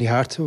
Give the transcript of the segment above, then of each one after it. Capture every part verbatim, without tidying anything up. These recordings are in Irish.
Ní thart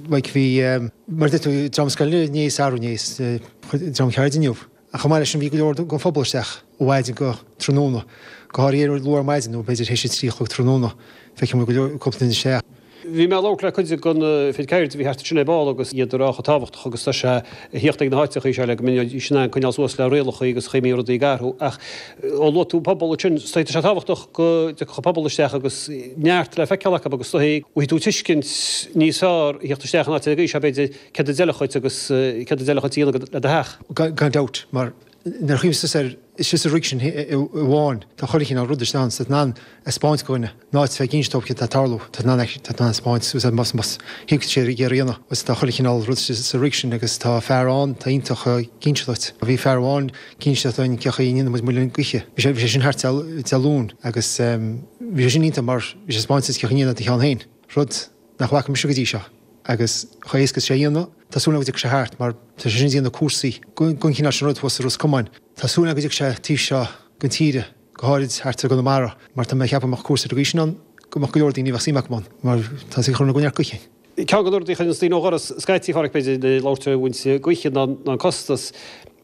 like bhí mar tú dream scoile níos arú níos dream ceirde inniu. A chomh maith leis sin bhí go leor den phobal isteach ó mhaidin go tráthnóna. Go háirithe luath ar maidin nó b'fhéidir théis a trí a chlog tráthnóna feicim go leor cúpla duine isteach. Bhí mé ag labhairt le cuid den fhir ceirde a bhí thart ansin ar ball agus iad ag rá chomh tábhachtach agus tá sé a thíocht ag na háiteacha seo le go mbeidís in ann coinneáil suas le rialacha agus chaoi a mbíonn rudaí ag athrú ach ó luaigh tú pobal ansin tá sé tábhachtach go dtiocfadh an pobal isteach agus neart le feiceáil acu agus dóigh bhfaighidh tú tuiscint níos fearr a thíocht isteach in áit ar an gcaoi seo b'fhéidir céard a d'fheilfeadh dhuit agus céard a d'fheilfeadh dhuit a dhéanamh le do theach. Gan dabht mar nuair a chuimhníos air is sa rig sin amháin tá chuile chineál rud isteach ann, tá in ann a 'speáint do dhuine in áit bheith ag inse dóibh céard atá ag tarlú, tá in ann tá in ann a 'speáint suas más más thuig sé ar a dhéanamh agus tá chuile chineál rud sa rig sin agus tá fear ann tá iontach ag inse duit. Bhí fear amháin ag inse dúinn cén chaoi a ndéanann muid muileann gaoithe. Bhí sé bhí sé sin thart Dé Luain agus bhí sé sin iontach mar bhí sé ag 'speáint duit cén chaoi a ndéanann do cheann féin, rud nach bhfaca mise go dtí seo agus chomh éasca is sé a dhéanamh. Tá súil agam go dtiocfaidh sé thart mar tá sé sin ag déanamh cúrsaí den chineál sin rud thuas i Ros Comáin. Tá súil agam go dtiocfaidh sé taobh seo den tíre, go háirid thart ar gConamara, mar tá mé ag ceapadh go mbeadh cúrsa ar an gcaoi sin ann go mbeadh go leor daoine a bheadh suim acu ann mar tá sé ag cur ina gcoinne gaoithe. Ceann de na rudaí a chuireann daoine ó dhoras scaití, a Pháraic, b'fhéidir, ag labhairt ar bhaint gaoithe ná an costas.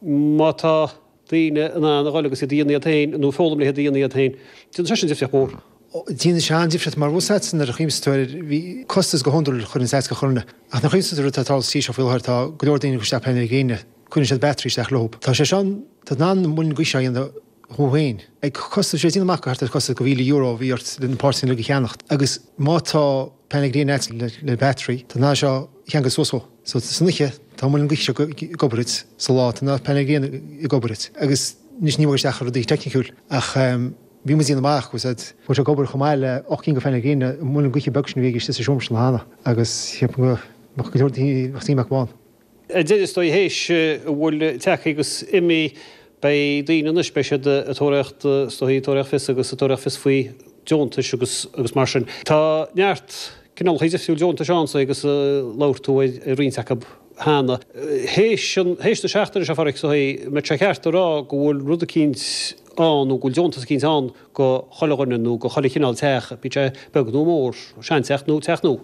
Má tá daoine in ann a dhul agus iad a dhéanamh iad féin nó foghlaim le hiad a dhéanamh iad féin, déanann sé sin difríocht mhór. Déanann sé an-difríocht mar bhfuil a nuair a chuimhníos tú air bhí costas go hiondúil chuir an seasca chorna ach nuair a chuimhníos tú ar rud atá ag tarlú sa tír seo faoi láthair tá go leor daoine ag cur isteach painéil gréine, cuireann siad battery isteach leo. Tá sé seo, tá in ann muileann gaoithe seo a dhéanamh thú féin. Ag costas, sé déanamh amach go thart ar costas go mhíle euro a bhí ort le na páirteanna uilig a cheannacht agus má tá painéil gréine agat le le battery tá in ann seo a cheangal suas dhó. So san oíche tá an muileann gaoithe seo ag obair duit, sa lá tá na painéil gréine ag obair duit agus anois ní bhfuil isteach ar rudaí teicniciúil ach bhí muid ag déanamh amach go bhfuil sé ag obair chomh maith le ocht gcinn de phainéil gréine an muileann gaoithe beag sin a bhí ag istigh sa seomra sin cheana agus cheap go mbeadh go leor daoine bheadh suim acu ann. Ar deireadh is dóigh théis a bhfuil tagtha agus imithe beidh daoine anois beidh siad ag tóraíocht is dóigh ag tóraíocht fios agus ag tóraíocht fios faoi deontais agus agus mar sin. Tá neart cineálacha difriúil deontais ann so agus labhair tú ar roinnt acu cheana. Théis an théis na seachtaine seo a Pháraic is dóigh an mbeadh sé ceart a rá go bhfuil rud eicínt ann nó go bhfuil deontas eicínt ann go chuile dhuine nó go chuile chineál teach, bíodh sé beag nó mór, seanteach nó teach nua.